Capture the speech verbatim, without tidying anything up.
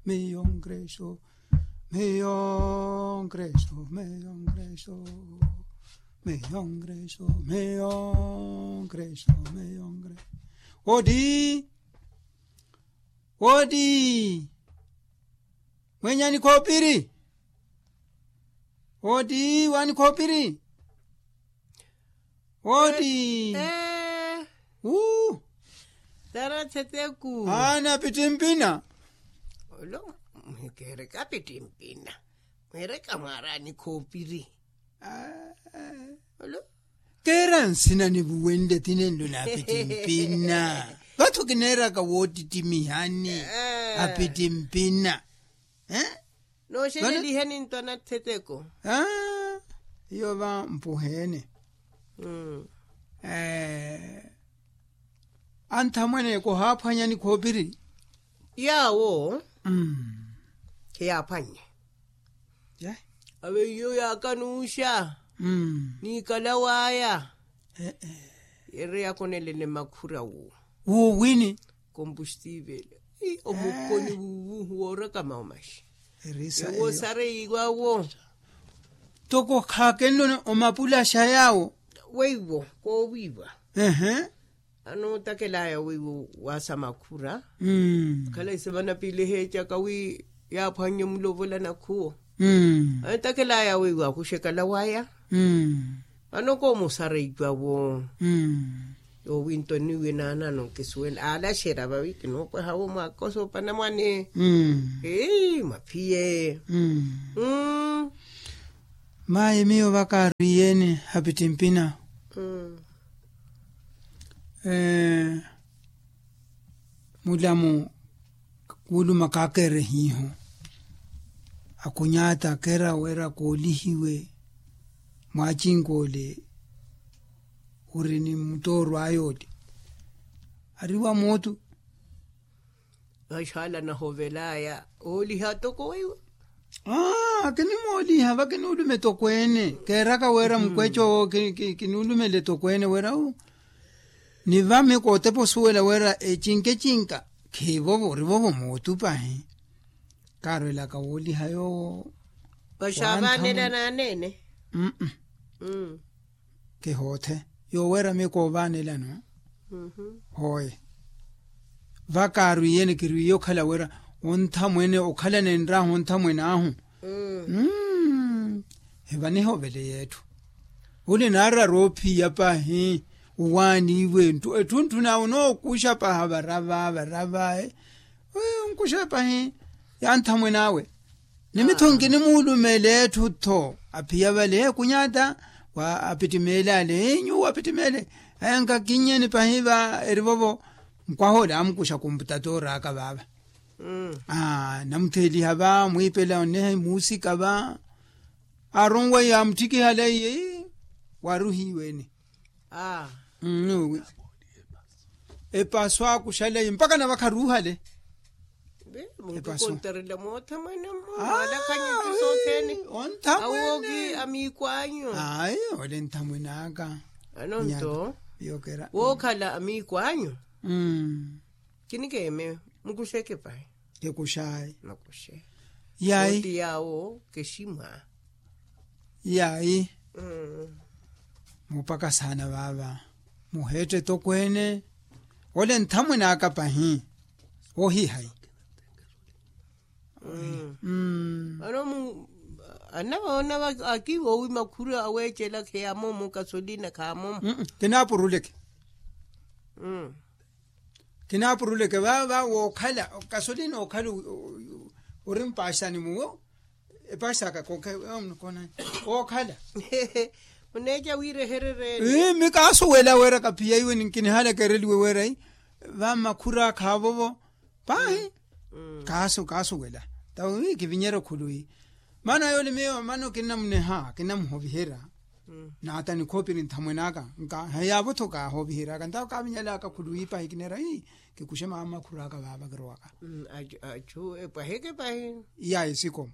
Miyongreso, miyongreso, miyongreso, miyongreso, miyongreso, miyongreso. Odi, odi. Mwenyani khopiri. Odi wani khopiri. Odi. Wu. Tara theteku. Ana pitimpina. Olo. Mwikereka pitimpina. Mwereka mwarani khopiri. Olo. Keera nsina nivuwenle tinenlo na pitimpina. Vathu kineeraka wootittimihani. Apitimpina. Nooxeleliheni ntwana theteko. Iyo va mpuheene. Anthamwene kohaaphwanyani khoopiri. Yaawo khiyaaphwannye. Ave iyo yaakanuuxa. Niikala waya. Yeereya akonelene makhura wo. Wuuwini. Kompustiivele. Omukoni wuuwu woorakama omaxi. Ewo sareiwawo. Toko khaakenloni omapulaxa yaawo. Weiwo koowiiwa. Anootakelaya weiwo waasa makhura. Khala ise vanapiile heecaka wi yaaphwannye mulovola nakhuwo. Anootakelaya weiwo akuxekala waya. Vano koomusara icwawo. Yoowi nto niwe naanano nkisuwela aalaxera vawi kinoopwaha wo mwakoso panamwane. Maphiye. Mayi miyo vakaarwiiyene hapittimpina. Mulamu kuuluma kaakerehiiho. Akhunyaata kera wera koolihiwe. Mwaacinkoole ori ni muttooro ayoole. Ari wa mootu. Vaxaala nahovelaya ooliha toko weiwo. Akinimooliha vakinuulume tokweene keeraka wera mukweeca owo. Kinuulumele tokweene wera wu. Ni vami kootepa osuwela wera ecinkecinka khiivovo orivovo mootupahi. Kaarwelaka wooliha yoowo. Vaxaavaanela naaneene. Kihoothe yooweramiya koovaanelano. Hooye. Vakaarwiiyene kirwiiye okhala wira onthamwene okhala nenraahu onthamwene ahu. Hivanihovele yeetthu. Ole naarara oophiya pahi owaaniiwe etthu etthu naawe onookuxa paha varava varava. Onkuxa pahi ya nthamwene awe. Ni mitthunki nimuulumele etthu-tho aphiya vale kunyaata. Wa apittimeele ale nyuwo apittimeele. Aya nkakinnyeni pahi va erivovo. Nkwaha ole amukuxa kumputatoori aka vaava. Namutheeliha va mwiipela onneha imuusika va. Aronwa yaamutthikihala iye. Waruhiiwe-ni. Epaso akuxalaiye mpakha navakha ruuhale. Mutukontarela mootha mwene mmu mwalakhanye nti sothene. Awoki amiiko anyu. Ayi ole nthamwene aka. Anonto wookhala amiiko anyu. Kinikeeme mukuxeke pahi. Kikuxayi. Mukuxe. Yayi oti yaawo keximwa. Yayi. Mupaka saana vaava. Muheette tokweene. Ole nthamwene aka pahi. Ohihayi. Ano mu anavaona akiivowi makhuru aweecela kheyaamomo kasolina khaamomo. Kinaapuruleke. Kinaapuruleke vaava wookhala kasolina ookhala ori mpaxani muwo. Epaxaka kookhala. Muneeca wiireherereeni. Ii mi kaasuwela wira kaphiya iwe ninkinihala kereliwe wira. Vamakhura khaavovo. Pahi. Kaasuwela. Tawi kivinyerya okhuluwi. Maana yoole miyo maana kinnamuneha kinnamuhoviherya. Naata nikhoopiri nthamwene aka. Nka heyaavo-tho kaahooviheryaka ntawo kaavinyalaka khuluwi pahi kineera ii. Kikuxe maamakhuru aka vaava kirowaka. Achu epwaheke pahi. Iyayi sikomo.